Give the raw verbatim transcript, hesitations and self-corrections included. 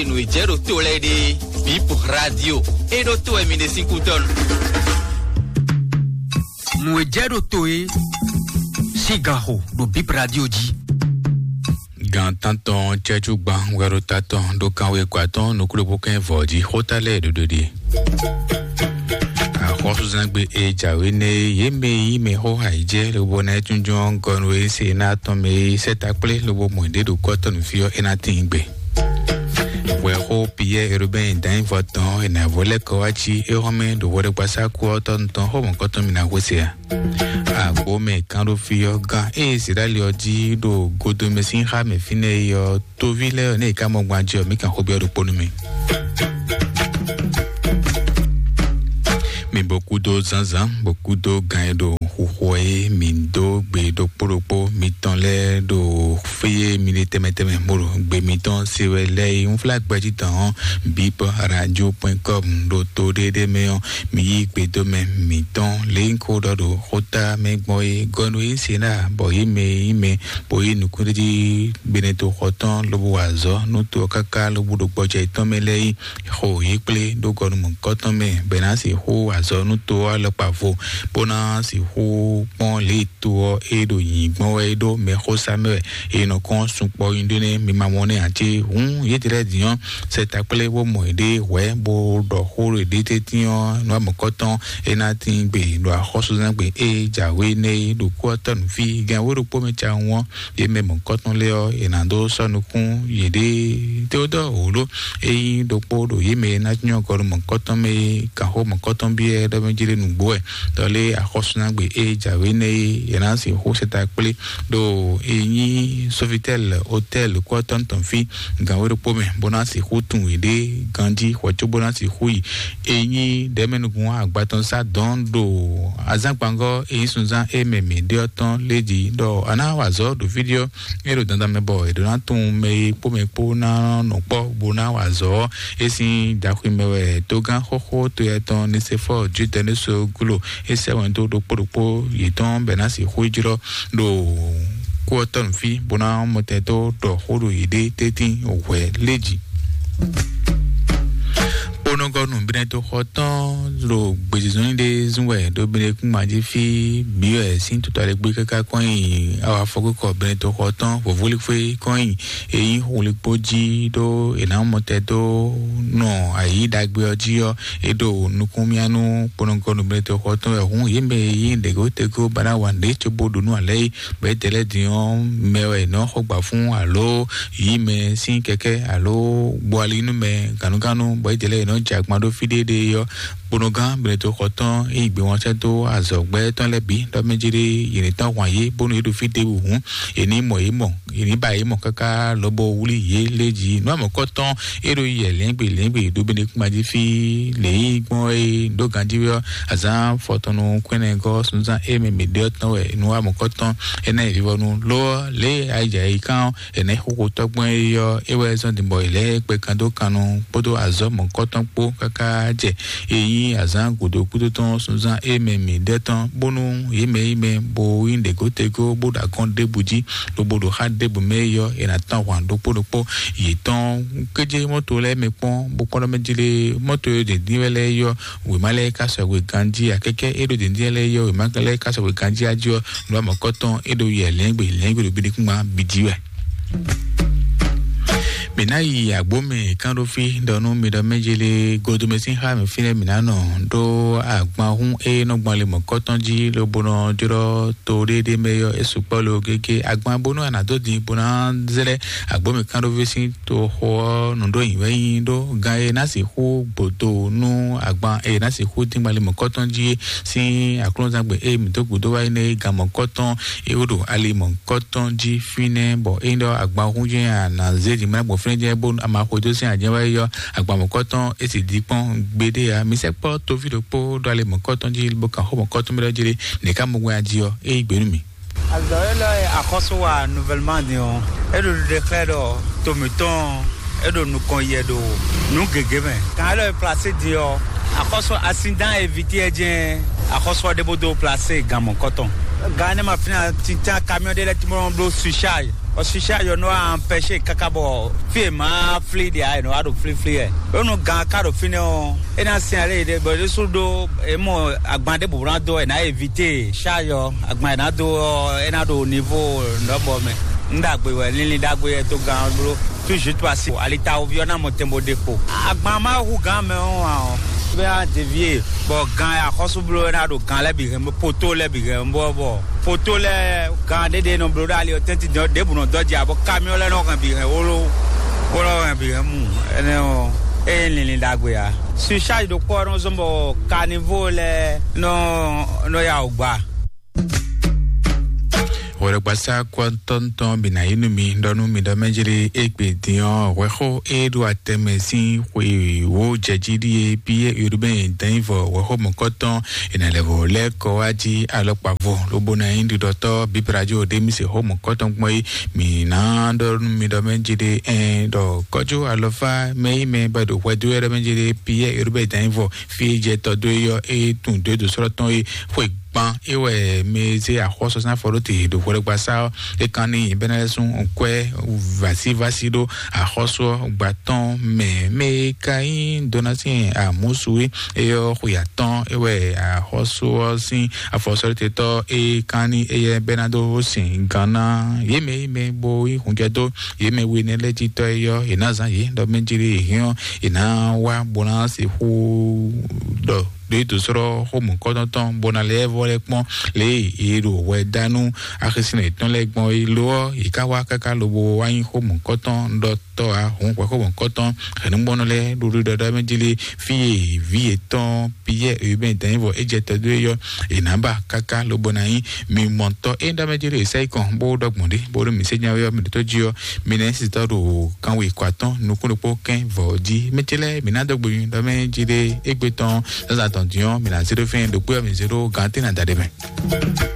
Nǔ e jɛ ɖo to lɛ́ɛ ɖe, Bip Radio, é ɖó to wɛ mi ɖe sín kútɔ́nu. Nǔ e jɛ ɖo to é sín ganxo ɖo Bip Radio jí. Gan tántɔn cɛ́jú gban wɛ ɖo ta tɔn ɖo kanwe kɔ atɔn nukúɖokpó kɛn vɔ̌ jí xóta lɛ́ɛ ɖoɖo ɖe. Axɔ́súzangbe e jǎwe nɛ́ é, yě mɛ e nyí mɛxó ayǐjɛ lobo ná é jínjɔ́n gɔnu e se ná tɔn mɛ e sɛ́ ta kplé lobo mɔ ɖě ɖo kɔ́tɔ́ nǔ fí ɔ́, é ná tíin gbe. Hwɛxó Piyɛ́ɛ Erubɛ́n dǎnyívɔ tɔn e nǎ vɔ lɛ́ kɔ wá cí é hɔn mɛ ɖo hwɛɖɔgbasá kú ɔ́ tɔn tɔn xó mɔ̌kɔtɔn mi ná hwesɛ a? Agbo mɛ kán ɖó fí ɔ́ gán ée Izlayɛ́li ɔ́ jí ɖo godomɛ sín xá mɛ fínɛ́ é ɔ́, toví lɛ́ɛ ɔ́, nɛ́ è ká mɔ gbɔn ajɛ ɔ́, mǐ kan xó byɔ́ ɖokpónú mì. Mi bɔ kúdó zǎnzǎn, bɔ kúdó gan e ɖo xuxu ɔ́ é, mi dó gbe ɖokpó ɖokpó mitɔn lɛ́ɛ ɖo fí e mi ɖe tɛnmɛ tɛnmɛ bó ɖo gbe mitɔn se wɛ lɛ́ɛ é. Unflágbɛjí tɔn ɔ́, bip radio point com ɖo to ɖéɖé mɛ ɔ́, mi yí gbedomɛ mǐtɔn lě e un ko ɖɔ ɖo xóta mɛ gbɔn é. Gɔnu e se ná bɔ yě mɛ e nyí mɛ bó yí nukúnɖéjí gbenɛtoxɔ tɔn lobo wa azɔ̌ nú to ɔ́ káká lobo ɖo gbɔjɛ yětɔn mɛ lɛ́ɛ é, xo yě kplé ɖó gɔnu mɔ̌hunkɔtɔn mɛ, bɔ è nǎ sixú wa azɔ̌ nú to ɔ́ alɔkpa vo, bó ná sixú kpɔ́n lě e to ɔ́ e ɖo nyǐnyí gbɔn wɛ é ɖó mɛxósá mɛ wɛ, e nɔ kɔn sunkpɔ́ nyi ɖó nɛ́ mi ma mɔ nɛ́ ǎ cé? Hǔn yědɛɛ lɛ́ɛ din ɔ́, sɛ ta kplé bó mɔ yěɖée hwɛ̌, bó ɖɔ xó ɖo yěɖée tɛ́ntin ɔ́, nǔ amɔ̌kɔ́tɔn é ná tín gbe ɖo axɔ́súzán gbe e jǎwe nɛ́ é ɖo kú ɔ́ tɔ́ nǔ fí gɛ́n wé ɖokpó mɛ cawun ɔ́, yě mɛ mɔ̌kɔ́tɔn lɛ́ɛ ɔ́, è nǎ dó sɔ́ nukún yěɖée Teodɔ́ɔ wǒ ɖó. Ényí ɖokpó ɖo yě mɛ e ná nyɔ́ gɔ́ ɖo mɔ̌kɔ́tɔn mɛ é, gǎnxó mɔ̌kɔ́tɔn byɔ́ ɖɔ mɛ jí ɖé nǔgbó wɛ, ɖɔ lé axɔ́súnagbe e jǎwe nɛ́ é, è nǎ sixú sɛta kplé ɖo e nyí Sofitel Hotel kú ɔ́ tɔn tɔn fí gǎnwé ɖokpó mɛ, bó ná sixú tunwun yěɖée ganjí hwɛ̌ cóbó ná sixú yi e nyí ɖɛ̌mɛnukún agbatɔnsá dɔn ɖo azǎngbangɔ́ e nyí sunzán e mɛ mǐ ɖe ɔ́ tɔn lé jí, ɖɔ a ná wa azɔ̌ ɖo fí ɖé ɔ́, é ɖo dandan mɛ bɔ è ɖǒ ná tunwun mɛ e kpó mɛ kpó ná nɔ kpɔ́ bó ná wa azɔ̌ ɔ́. É sín daxwi mɛ wɛ togán xóxó to yɛ tɔn Nisefɔ́ɔ Judɛ́niso gúlo é sɛ́ wɛn dó ɖokpó ɖokpó yětɔn bɔ è ná sixú yi jlɔ́ ɖo kú ɔ́ tɔn fí bó ná mɔtɛn dó ɖɔ xó ɖo yěɖée tɛ́ntin hwɛ̌ lé jí. Kponɔgɔnu Benɛtoxɔ tɔn ɖo gbězínzɔ́n ɖé zún wɛ ɖo Benɛkúnma jí fí bǐ wɛ sín totɔ́ ɖé gbé káká kɔn nyi awa afɔkúkɔ Benɛtoxɔ tɔn vɔ̌vúlíxwé kɔn nyi e nyí xwlikpó jí ɖó è nǎ mɔ tɛ dó nɔ ayǐ ɖagbe ɔ́ jí ɔ́, é ɖo nukúnmíá nú kponɔgɔnu Benɛtoxɔ tɔn wɛ hǔn yě mɛ e nyí ɖěgótegó ba ná wa nǔɖé cóbó ɖo nú alɛ é. Bɔ étɛ́ lɛ́ɛ din ɔ́, mɛ wɛ è nɔ xɔ gbǎ fún alo yí mɛ sín kɛkɛ́ alo gbɔ ali nú mɛ gǎnugǎnu, bɔ étɛ́ lɛ́ɛ è nɔ jɛ agban ɖó fí ɖéeɖée ɔ́, kponɔgán Benɛtoxɔ tɔn e yi gbé wɔn sɛ́ dó azɔ̌gbɛ́ tɔn lɛ́ɛ bǐ ɖɔ mɛ jí ɖé yě ní tɔ́n hwan yě bónú yě ɖo fí ɖěbǔ hǔn, è ní mɔ yě mɔ, è ní ba yě mɔ káká lobo wlí yě lé jí. Nǔ amɔ̌kɔ́tɔn e ɖo yɛ lɛ̌ngbè lɛ̌ngbè ɖo Benɛkúnma jí fí lě e gbɔn é ɖó ganjí wɛ ɔ́, azǎn fɔtɔnnu kwɛ́nɛgɔ́ sunzán e mɛ mǐ ɖe ɔ́ tɔn wɛ nǔ amɔ̌kɔ́tɔn énɛ́ yi vivɔnu. Lo ɔ́, lě e ayǐjǎyǐ kán ɔ́, énɛ́ xóxó tɔ́gbɔn e ɔ́, é wɛ zɔ́n din bɔ è lɛ́ gbɛ kan dó kan nu kpódó azɔ̌ mɔ̌kɔ́tɔn kpó káká jɛ e nyí azǎn gǔdo kúdó tɔn sunzán e mɛ mǐ ɖe tɔn, bónú yě mɛ yi mɛ bo nyí ɖěgótegó bó ɖo agɔ́n ɖěbǔ jí, lobo ɖo xá ɖěbǔ mɛ yi ɔ́, è nǎ tɔ́n ahwan ɖokpó ɖokpó yětɔn. Kéjé mɔ́to lɛ́ɛ mɛ kpɔ́n, bó kpɔ́n ɖɔ mɛ jí lé mɔ́to e ɖě dín wɛ lɛ́ɛ yi ɔ́, wěma lɛ́ɛ ka sɔgbe ganjí, akɛkɛ e ɖo dǐndín lɛ́ɛ yi ɔ́, wěma lɛ́ɛ ka sɔgbe ganjí ají ɔ́, nǔ amɔ̌kɔ́tɔn e ɖo yɛ lɛ̌ngbè lɛ̌ngbè ɖo bíɖíkúngban bíjí wɛ. Mǐ ná yi agbǒmɛ kán ɖó fí ɖɔ nú mi ɖɔ mɛ jélé godomɛ sín xá mɛ fínɛ́ mǐ ná nɔ ɖó agbanhún e nɔ gbɔn ali mɔ̌kɔ́tɔn jí lobo nɔ jlɔ́ to ɖéɖé mɛ ɔ́, é sukpɔ́ lo gégé agban bónú a nǎ dó din bó ná zlɛ́ agbǒmɛ kán ɖó fí sín toxo ɔ́ nǔɖó nyǐwɛ́nyí ɖó gan e ná sixú gbodó nú agban e ná sixú dín gbali mɔ̌kɔtɔn jí é sín aklúnɔzangbe e mǐ dó gǔdo wá é nɛ́ gan mɔ̌kɔtɔn e wó ɖo ali mɔ̌kɔtɔn jí fínɛ́, bɔ é nyí ɖɔ agban hún jɛ́n a nǎ zé dín gbali gbɔn fínɛ́ jɛ́n bó a ma xwedó sín ajɛ́ wá é yɔ agban mɔ̌kɔtɔn é sì dín kpɔ́n gbeɖé ǎ. Mi sɛkpɔ́ toví ɖokpó ɖó ali mɔ̌kɔtɔn jí bó kan xó mɔ̌kɔtɔn mɛ ɖɔ jí ɖé nɛ̌ ká mɔ gbɛn jí ɔ́, é yí gbe nú mì. Azɔ̌ élɔ́ e axɔ́sú wa nouvellement din ɔ́, é ɖo ɖiɖe xlɛ́ ɖɔ to mǐtɔn ɔ́, é ɖo nukɔn yɛ ɖo nǔ gěgé mɛ. Kan élɔ́ e plasé din ɔ́, axɔ́sú asin dán evití ɛ jɛ́n axɔ́sú ɔ́ ɖěbǔ dó plasé gan mɔ̌kɔtɔn. Gan énɛ́ ma fínɛ́ ǎ, tintan kamiɔ́ ɖé lɛ́ɛ tínmɔ́ bló surcharge. Ɔ, sisa yɔ nɔ wa pɛsɛ kaka bɔ fie ma fli ɖe a yɛ nɔ wa ɖo flifli yɛ. Ɖo nu gan ka ɖo fínɛ́ ɔ, e na sin ale ɖe bɔ ɖésú ɖo emɔ agban ɖe bɔbɔ na dó ɛ na évité sa yɔ agban yɛ na dó ɔ, e na ɖo nivo nɔbɔ mɛ. N ɖagbe wɛ, linlin ɖagbe yɛ to gan blo. Toujours toi si alitawo viɔ na mɔ tɛnbo ɖe kpo. Agban ma hu gan mɛ ɔ wa ɔ. Bɛ a devie bɔ gan ya xɔsu blo e na ɖo gan lɛ bi hɛn poto lɛ bi hɛn bɔ bɔ poto lɛ gan ɖe ɖe nɔ blo ɖe ali ɔ tɛnti dɔn ɖe bu nɔ dɔ dzi abɔ kamiɔ lɛ nɔ hɛn bi hɛn wolo wolo hɛn bi hɛn mu. Ɛnɛ ɔ, e linlin ɖagbe ya. Sur charge ɖo kpɔ nɔ zɔn bɔ kanivo lɛ nɔ nɔ ya o gba. Hwɛɖɔgbasa kɔntɔntɔn bi na yi nu mi ɖɔ nu mi ɖɔ mɛ jere egbe diɔ hwɛxo e ɖo atɛmɛ sin xwe wo jɛji ɖie biye urbain dɛnyivɔ hwɛxo mɔkɔtɔn ena lɛvo lɛ kɔ wá jí alɔkpavo lobo na yi ɖiɖɔtɔ bibrajo ɖe mi se xo mɔkɔtɔn gbɔn yi mi na ɖɔ nu mi ɖɔ mɛ jere ɛn ɖɔ kɔjo alɔfa mɛ yi mɛ ba ɖo hwɛdo yɛ ɖɔ mɛ jere biye urbain dɛnyivɔ fi jɛ tɔ do yɔ e tun do do srɔtɔn yi xwe gban e wɛ mɛ zé axɔ́sɔ sín afɔ ɖó te ɖo hwɛɖɔgbasa ɔ́. E kan ní bɛnɛ lɛ́ sún nkwɛ vasivasi ɖó axɔ́sɔ gbatɔn mɛ mɛ e ka nyí donasi amusu e eyɔ xwe atɔn e wɛ axɔ́sɔ ɔ́ sín afɔsɔ́ɖótetɔ e kan ní eyɛ bɛnado sin gánná yémɛ yémɛ bo yi hunjɛ dó yémɛ we nɛ lɛ́ jitɔ eyɔ e ná zán yě ɖɔ mɛ jiri hɛn ɔ́ e ná wá bó ná sixú ɖɔ ɖo yi dǒ sɔ́ xó mɔ̌kɔ́tɔn tɔn bó ná lɛ́ vɔ lɛ́ kpɔ́n lě e è ɖo hwɛ dá nú axisínɔ yětɔn lɛ́ɛ gbɔn é lo ɔ́, yě ká wá káká lobo wá nyí xó mɔ̌kɔ́tɔn ɖɔtɔ́ ǎ. Hǔn hwɛ xó mɔ̌kɔ́tɔn hɛ̌nnúgbɔ́nɔ lɛ́ɛ ɖo ɖiɖɔ ɖɔ mɛ jí lé fí e vǐ yětɔn Piyɛ́ɛ Urbain Danyivɔ é jɛ tɔ dó é yɔ è nǎ ba káká lobo ná nyí mi mɔ̌tɔn é ɖɔ mɛ jí lé è sɛ́ yi kɔn bó ɖɔ gbɔn ɖé bó ɖo mǐ sé nya wɛ ɔ́ mi ɖo tó jí ɔ́ mi nɛ́ sitɔ ɖo kanwe kɔ atɔ́n nukún ɖokpó kɛ́n vɔ̌ jí. Mɛ ce lɛ́ɛ mǐ ná dó gbe nyi ɖɔ mɛ jí ɖé égbé tɔn zǎnzǎn tɔn dín ɔ́, mǐ ná zé ɖó fɛ́n ɖokpó ɔ́ mǐ zé ɖó gǎn tɛ́ ná da ɖé mɛ.